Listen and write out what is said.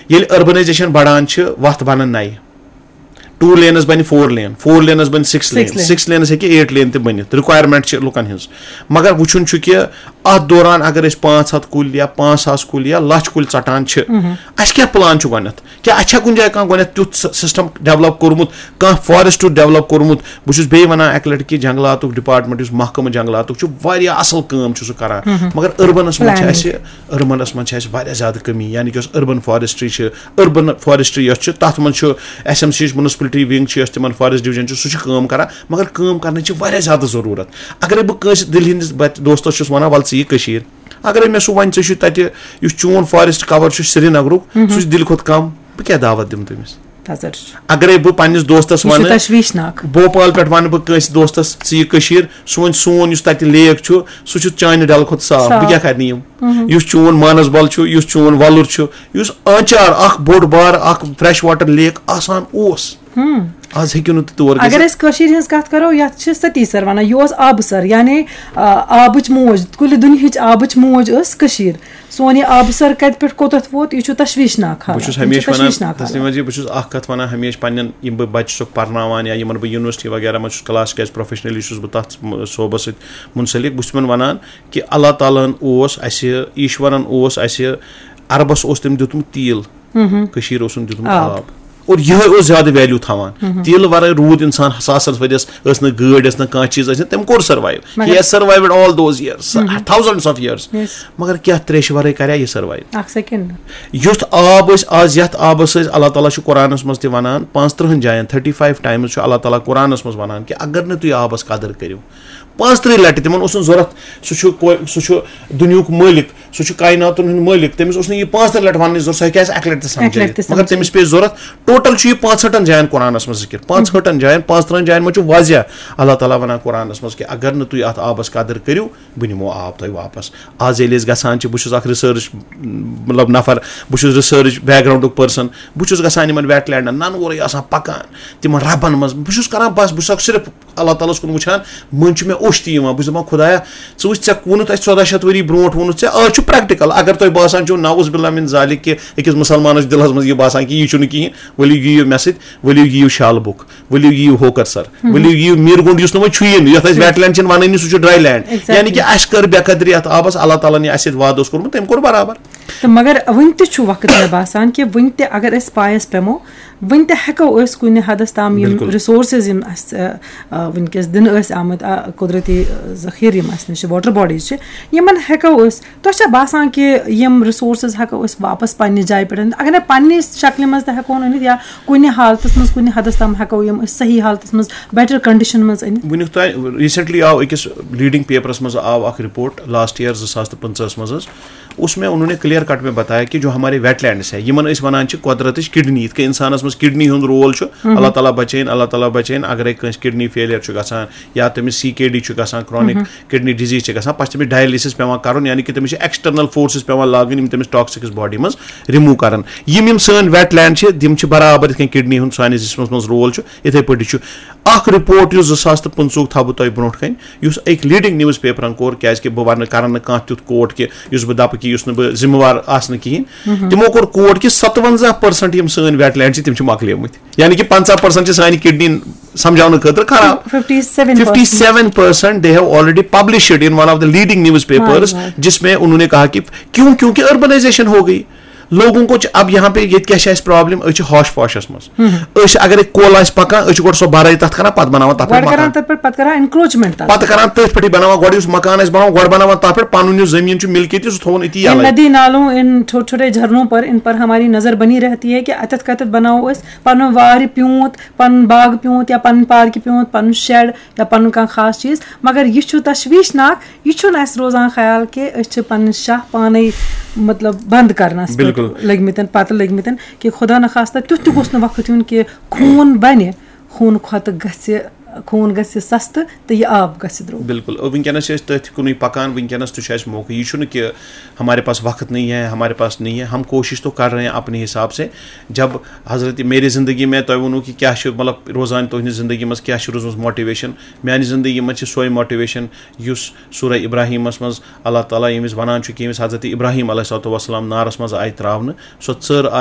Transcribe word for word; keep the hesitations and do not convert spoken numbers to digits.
ییٚلہِ اربنائزیشن بڑان چھِ، وتھ بنان نَیہِ۔ ٹوٗ لینس بنہِ فور لین، فور لینس بنہِ سکس لین، Six lane۔ سکس لینس ہیٚکہِ ایٹ لین تہِ بٔنِتھ، ریکویرمنٹ چھِ لُکن ہٕنٛز۔ مگر وٕچھُن چھُ کہِ اتھ دوران اگر أسۍ پانٛژھ ہتھ کُلۍ یا پانٛژھ ساس کُلۍ یا لچھ کُلۍ ژٹان چھِ، اسہِ کیٛاہ پلان چھُ گۄڈٕنیتھ؟ کیٛاہ اسہِ چھا کُنہِ جایہِ کانٛہہ گۄڈٕنیتھ تیُتھ سسٹم ڈیولپ کوٚرمُت، کانٛہہ فارسٹ ڈیولپ کوٚرمُت؟ بہٕ چھُس بیٚیہِ ونان اکہِ لٹہِ کہِ جنگلاتُک ڈپارٹمنٹ، یُس محکمہٕ جنگلاتُک چھُ، واریاہ اصل کٲم چھُ سُہ کران۔ مگر اربنس منٛز چھِ Planning۔ اسہِ، اربنس منٛز چھِ اسہِ واریاہ زیادٕ کمی، یعنی کہِ یۄس اربن فارسٹری چھِ، اربن فارسٹری یۄس چھِ، تتھ منٛز چھُ ایس ایم سی یُک میونسپلٹی ونگ چھِ، یۄس تِمن فارسٹ ڈویژن چھُ، سُہ چھُ کٲم کران، مگر کٲم کرنٕچ چھِ واریاہ زیادٕ ضروٗرت۔ اگر بہٕ کٲنٛسہِ دِلہِ ہٕنٛدِس بچ-، دوستس چھُس ونان، ول ژٕ یہِ کٔشیٖر، اگرے مےٚ سُہ ونہِ، ژےٚ چھُے تتہِ، یُس چون فارسٹ کور چھُ سرینگرُک، سُہ چھُ دِلہِ کھۄتہٕ کم، بہٕ کیٛاہ دعوت دِمہٕ تٔمِس؟ تَزر چھُ۔ اگرے بہٕ پننِس دوستس یہِ چھُ ونہٕ، تشویشناک۔ بھوپال پٮ۪ٹھ ونہٕ بہٕ کٲنٛسہِ دوستس، ژٕ یہِ کٔشیٖر، سُہ ونہِ، سون یُس تتہِ لیک چھُ، سُہ چھُ چانہِ ڈلہٕ کھۄتہٕ صاف، بہٕ صاف۔ کیٛاہ کرنہٕ یِم؟ یُس چون مانسبل چھُ، یُس چون وۄلُر چھُ، یُس آنچار اکھ بوٚڑ بار اکھ فریش واٹر لیک آسان اوس، آز ہیٚکِو نہٕ تُہۍ تور گٔژھِتھ۔ اگر أسۍ کٔشیٖرِ ہٕنٛز کتھ کرو، یتھ چھِ ستی سر ونان، یہِ اوس آبہٕ سر، یعنی آ، آبٕچ موج، کُلہِ دُنیہٕچ آبٕچ موج ٲس کٔشیٖر۔ سون یہِ آبہٕ سر کتہِ پٮ۪ٹھ کوٚتتھ ووت، یہِ چھُ تشویشناک بہٕ حالت۔ چھُس یِم چھِ ہمیشہِ ونان، تشویشناک تسلیما حالت۔ جی، بہٕ چھُس اکھ کتھ ونان ہمیشہِ پننٮ۪ن، یِم بہٕ بچہِ چھُسکھ پرناوان یا یِمن بہٕ یونیورسٹی وغیرہ منٛز چھُس کلاس، کیازِ پروفیشنلی چھُس بہٕ تتھ م-، صوبس سۭتۍ منسلک، بہٕ چھُس تِمن ونان کہِ اللہ تعالیٰ ہن اوس اسہِ، ایشورن اوس اسہِ، عربس اوس تٔمۍ دیُتمُت تیٖل، کٔشیٖر اوسُن دیُتمُت آب۔ آب۔ اور یِہوٚے اوس زیادٕ ویلیو تھاوان۔ تیٖلہٕ ورٲے روٗد انسان ساسن ؤرۍ یس، ٲس نہٕ گٲڑۍ، ٲس نہٕ کانٛہہ چیٖز، ٲسۍ نہٕ، تٔمۍ کوٚر سروایو۔ مگر He has survived all those years, thousands of years۔ Yes۔ مگر کیٛاہ تریشہِ ورٲے کریا یہِ سروایو؟ اکھ سیکنڈ۔ یُتھ آب أسۍ آز، یتھ آبس أسۍ، اللہ تعالیٰ چھُ قرآنس منٛز تہِ ونان، پانٛژترٕہن جاین، thirty five times چھُ اللہ تعالیٰ قرآنس منٛز ونان کہِ اگر نہٕ تُہۍ آبس قدر کٔرِو، پانٛژترٕہ لٹہِ، تِمن اوس نہٕ ضروٗرت، سُہ چھُ کو-، سُہ چھُ دُنیہُک مٲلِک، سُہ چھُ کائناتن ہُنٛد مٲلِک، تٔمِس اوس نہٕ یہِ پانٛژترٕہ لٹہِ وننٕچ ضروٗرت، سُہ ہیٚکہِ آسہِ اکہِ لٹہِ تہِ اکہِ لٹہِ سمجھٲیِتھ، تہِ مگر تٔمِس سمجھٲیِتھ۔ پیٚیہِ ضروٗرت۔ ٹوٹل چھُ یہِ پانٛژہٲٹھن جاین قرآنس منٛز ذکر، پانٛژہٲٹھن جاین، پانٛژترٕہن جاین منٛز چھُ واضح اللہ تعالیٰ ونان قرآنس منٛز کہِ اگر نہٕ تُہۍ اتھ آبس قدر کٔرِو، بہٕ نِمو آب تۄہہِ واپس۔ آز ییٚلہِ أسۍ گژھان چھِ، بہٕ چھُس اکھ ریسرچ، مطلب، نفر، بہٕ چھُس ریسرچ بیک گراؤنڈُک پرسن، بہٕ چھُس گژھان یِمن ویٹ لینڈن، ننہٕ وورٕے آسان پکان، تِمن ربن منٛز، بہٕ چھُس کران بس، بہٕ چھُس اکھ صرف اللہ تعالیٰ ہس کُن وٕچھان، مٔنٛزۍ چھُ مےٚ اوٚش تہِ یِوان، بہٕ چھُس دپان، خدایا، ژٕ وٕچھ، ژےٚ ووٚنُتھ اَسہِ ژۄداہ شیٚتھ ؤری برونٛٹھ ووٚنُتھ ژےٚ، آز چھُ پریکٹیکل۔ اگر تۄہہِ باسان چھُو نعوذ باللہ من ذالک کہِ أکِس مُسلمانس دِلس منٛز یہِ باسان کہِ یہِ چھُنہٕ کِہیٖنۍ، ؤلِو یِیِو مےٚ سۭتۍ، ؤلِو یِیِو شالہٕ بُک، ؤلِو یِیِو ہوکر سر، ؤلِو یِیِو میٖر گُنٛڈ، یُس نہٕ وۄنۍ چھُیی نہٕ، یَتھ أسۍ ویٹ لینڈ چھِنہٕ وَنٲنی، سُہ چھُ ڈراے لینڈ۔ Exactly۔ یعنی کہِ اَسہِ کٔر بے قدری اَتھ آبَس، اللہ تعالیٰ ہَن یہِ اَسہِ سۭتۍ وعدٕ اوس کوٚرمُت، تٔمۍ کوٚر برابر۔ تہٕ مگر وٕنہِ تہِ چھُ وقت مےٚ باسان کہِ وٕنہِ تہِ اگر أسۍ پایَس پٮ۪مو، وٕنہِ تہِ ہٮ۪کو أسۍ کُنہِ حدس تام یِم بِلکُل۔ رِسورسٕز یِم اَسہِ، آ، آ، وٕنکیٚس دِنہٕ ٲسۍ آمٕتۍ، آ، قۄدرٔتی، آ، ذخیٖرٕ یِم اَسہِ نِش چھِ، واٹر باڈیٖز چھِ، یِمَن ہٮ۪کو أسۍ، تۄہہِ چھا باسان کہِ یِم رِسورسٕز ہٮ۪کو أسۍ واپس پنٛنہِ جایہِ پٮ۪ٹھ أنِتھ؟ اگر نہٕ پنٛنہِ شکلہِ منٛز تہِ ہٮ۪کو أنِتھ یا کُنہِ حالتس منٛز، کُنہِ حدس تام ہٮ۪کو یِم أسۍ صحیح حالتس منٛز، بیٹر کنڈیشن منٛز أنِتھ؟ وٕنیُک تام ریٖسنٹلی آو أکِس لیٖڈِنٛگ پیپرَس منٛز آو اَکھ رِپورٹ لاسٹ یِیَر زٕ ساس تہٕ پٕنٛژٕہَس منٛز حظ، اس میں انہوں نے کلیئر کٹ میں بتایا کہ جو ہمارے ویٹ لینڈس ہے، یِمن أسۍ وَنان چھِ قۄدرتٕچ کڈنی، یِتھ کٔنۍ اِنسانَس منٛز کڈنی ہُنٛد رول چھُ، اللہ تعالیٰ بچٲیِن، اللہ تعالیٰ بچٲیِن، اگرے کٲنٛسہِ کڈنی فیلیر چھُ گژھان یا تٔمِس سی کے ڈی چھُ گژھان، کرانک کڈنی ڈیزیز چھِ گژھان، پتہٕ چھِ تٔمِس ڈایلسِس پٮ۪وان کرُن، یعنی کہِ تٔمِس چھِ ایکسٹرنل فورسز پٮ۪وان لاگٕنۍ، یِم تٔمِس ٹاکسکس باڈی منٛز رِموٗ کران۔ یِم یِم سٲنۍ ویٹ لینڈ چھِ، تِم چھِ برابر یِتھ کٔنۍ کڈنی ہُنٛد سانِس جسمس منٛز رول چھُ، یِتھے پٲٹھۍ چھُ اکھ رِپورٹ یُس زٕ ساس تہٕ پٕنٛژٕہُک تھاوٕ بہٕ تۄہہِ برونٛٹھ کَنہِ، یُس أکۍ لیٖڈِنٛگ نِوٕز پیپرَن کوٚر، کیٛازِکہِ بہٕ وَنہٕ، کَرَن نہٕ کانٛہہ تیُتھ کوٹ کہِ یُس بہٕ دَپہٕ کہِ یُس نہٕ بہٕ ذِمہٕ وار آسنہٕ کِہیٖنۍ۔ تِمو کوٚر کوٹ کہِ ستوَنزاہ پٔرسَنٛٹ یِم سٲنۍ ویٹ لینڈ چھِ، تِم چھِ مۄکلیمٕتۍ۔ یعنی کہِ پنٛژاہ پٔرسَنٛٹ چھِ سانہِ کِڈنی سمجھاونہٕ خٲطرٕ خراب۔ Fifty seven fifty seven percent they have already published in one of the leading newspapers، واہ، واہ۔ جس میں انہوں نے کہا کہ کیوں، کیونکہ اربنائزیشن ہو گئی۔ لوگوں کو چھِ اب یہاں پہ ییٚتہِ کیٛاہ چھِ اَسہِ پرابلم، أسۍ چھِ ہوش پوشس منٛز۔ أسۍ چھِ اگر کۄل آسہِ پکان، أسۍ چھِ گۄڈٕ سۄ بَرٲے تَتھ کران، پَتہٕ بَناوان تَتھ پٮ۪ٹھ گۄڈٕ کران مکان۔ تَتھ پٮ۪ٹھ، پَتہٕ کران انکروچمنٹ تَتھ۔ پَتہٕ کران تٔتھۍ پٮ۪ٹھٕے بَناوان، گۄڈٕ یُس مکان آسہِ بَناوان، گۄڈٕ بَناوان تَتھ پٮ۪ٹھ، پَنُن یُس زٔمیٖن چھُ مِلکیتی، سُہ تھوٚوُن أتی ان یَلَے۔ ندی نالوں، ان چھوٹے چھوٹے جھرنوں پر، ان پر ہماری نظر بنی رہتی ہے کہ اتٮ۪تھ کتٮ۪تھ بناوو أسۍ پنُن وارِ پیوٗنت، پنُن باغ پیوٗنت یا پنُن پارکہِ پیوٗنت، پنُن شیڈ یا پنُن کانٛہہ خاص چیٖز۔ مگر یہِ چھُ تشویشناک، یہِ چھُنہٕ اَسہِ روزان خیال کہِ أسۍ چھِ پنٕنۍ شاہ پانے، مطلب، بنٛد کرنس پٮ۪ٹھ بِلکُل۔ لٔگۍ مٕتٮ۪ن، پتہٕ لٔگۍ مٕتٮ۪ن کہِ خدا نخواستہ تیُتھ تہِ گوٚژھ نہٕ وقت یُن کہِ خوٗن بنہِ، خوٗنہٕ کھۄتہٕ گژھِ خوٗن گژھِ سستہٕ تہٕ یہِ آب گژھِ درٛوگ۔ بالکل، اور وٕنکیٚنَس چھِ أسۍ تٔتھۍ کُنُے پَکان۔ وٕنکیٚنَس تہِ چھُ اَسہِ موقع، یہِ چھُنہٕ کہِ ہمارے پاس وقت نہیں ہے، ہمارے پاس نہیں ہے، ہم کوشش تو کر رہے ہیں اپنے حساب سے۔ جب حضرت میری زندگی میں تۄہہِ ووٚنوُ کہِ کیٛاہ چھُ مطلب روزان تُہٕنٛدِ زندگی منٛز، کیٛاہ چھُ روٗزمٕژ موٹیویشن، میٛانہِ زندگی منٛز چھِ سۄے موٹیویشن یُس سورہ ابراہیمس منٛز اللہ تعالیٰ ییٚمِس وَنان چھُ کہِ ییٚمِس حضرت ابراہیم علیہ الصلوۃ والسلام نارس منٛز آیہِ ترٛاونہٕ، سۄ ژٔر